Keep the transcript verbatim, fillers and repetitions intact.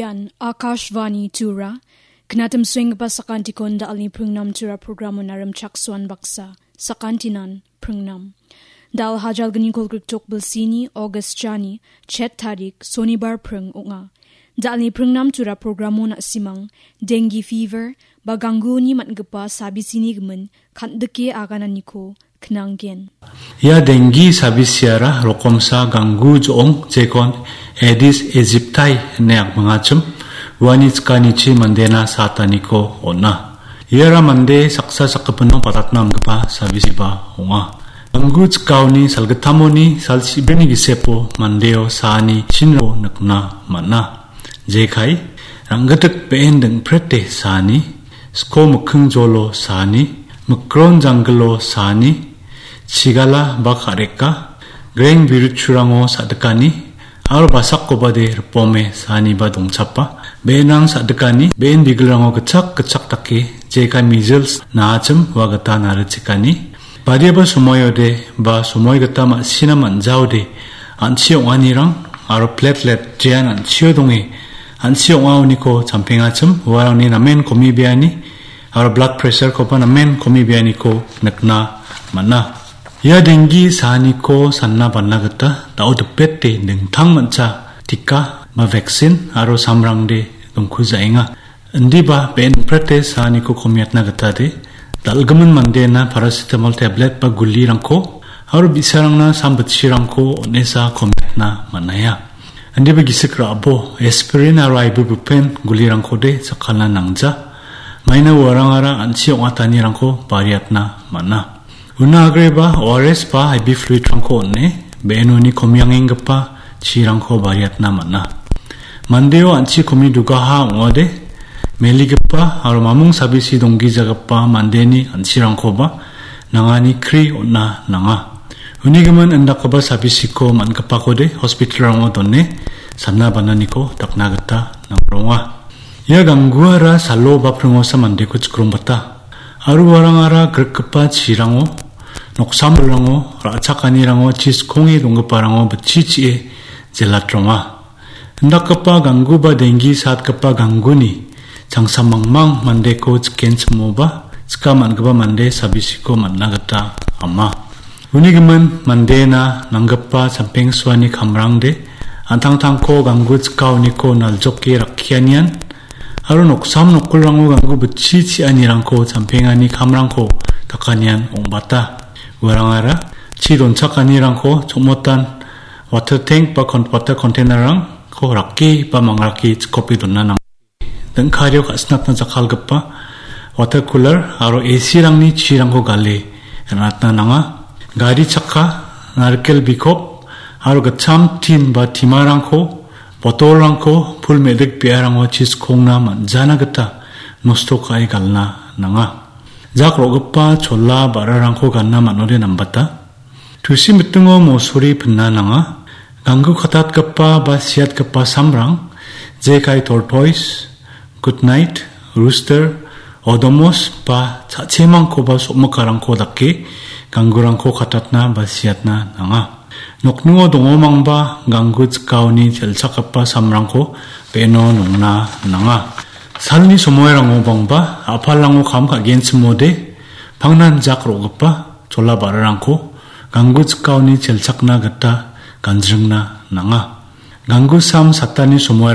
Ian Akashvani Tura, knatim swingba sakantikon dalni pringnam Tura programon arim chaksuan baksa, sakantinan pringnam. Dal hajal gni kolgrik tok bilsini, August jani, chet tarik, Sonibar pring ong·a. Dalni pringnam Tura programon a·simang, dengue fever, ba gangguni man·gipa sabisini gimin, kan·dike agananiko knanggen. Ia dengue sabisiara rokomsa ganggu jo·ong jekon Aedes aegypti ine akmingachim, uani chikanichi mandena sataniko on·a. Iara mande saksa sakgipino patatna amgipa sabisiba ong·a. Ganggu chikaoni salgittamoni sal chibrini gisepo mandeo saani chinro nikna man·a. Jekai, ranggitik be·en dingprete saani, sko mikking jolo saani, mikron janggilo saani, chigala ba ka·reka, greng biruchurango sa·dikani, aro basakobade ripome saaniba dongchapa, be·enrang sa·dikani, be·en bigilrango gitchak gitchak dake, jekai measles naachim ua gita narichikani, badiaba somoiode ba somoi gita ma·sina man·jaode an·chi ong·anirang aro platelet jean an·chio donge an·chi ong·aoniko champengachim uarangni namen komibeani aro blood pressure-koba namen komibeaniko nikna man·a. Ia dengue saaniko sanna banna gita da·o dipete dingtang mancha tika ba vaccine aro samrangde dongkujaenga. Indiba be·en prete saaniko komiatna gitade, dal·gimin mandena paracetamol tablet ba gulirangko, aro bi·sarangna sam bitchirangko on·esa komiatna man·aia. Indiba gisik ra·bo, aspirin aro ibuprofen gulirangkode jakkalna nangja. Maina uarangara an·chi ong·atanirangko bariatna man·a. Una agreba O R S ba I V fluid-rangko on·e, be·enoni komiangenggipa chirangko bariatna man·a. Mandeo an·chi komi dugaha ong·ode, meligipa aro mamung sabisi donggijagipa mandeni an·chirangkoba nangani kri on·a nanga. Unigimin indakgipa sabisiko man·gipakode hospital-rango done sanna bananiko dakna gita nangronga. Ia gangguara salo ba pringosa mandeko chikrongbata. Aro uarangara grikgipa chirango, noksamrirango, ra·chakanirango, chiskonge donggiparango bitchi chi·e jelatronga. Indakgipa ganggu ba dengue satgipa gangguni changsa mangmang mandeko chikenchimoba, chika man·gipa mande sabisiko man·na gita ama. Uni gimin mandena nanggipa champengsuani kamrangde, an·tangtangko ganggu chikaoniko naljoke rakkianian, aro noksam nokolrango ganggu bitchi chi·anirangko champengani kamrangko dakanian ong·bata. Uarangara chi donchakanirangko chongmotan water tank ba kon-, water container-rangko rake ba mangrake chikope dona nang-, dingkario ka·sinatna jakkalgipa water cooler aro A C-rangni chirangko gale ra·natna nanga. Gari chakka, narikel bikop aro gitcham tin ba timarangko, botolrangko pul me·dik be·arango chiskongna man·jana gita nosto ka·e galna nanga. Jak ro·gipa chola ba·rarangko gana man·ode nambata. Tusi mitingo mosori pinna nanga. Ganggu katatgipa ba siatgipa samrang, jekai tortoise, good night, rooster, odomos ba cha·chemangko ba sokmikarangko dake ganggurangko katatna ba siatna nanga. Nokningo dongomangba ganggu chikaoni chelchakgipa samrangko be·eno nongna nanga. Salni somoirango bangba a·palrango kam ka·genchimode pangnan jak ro·gipa chola ba·rarangko ganggu chikaoni chelchakna gita ganjringna nanga. Ganggu sam satani somoirang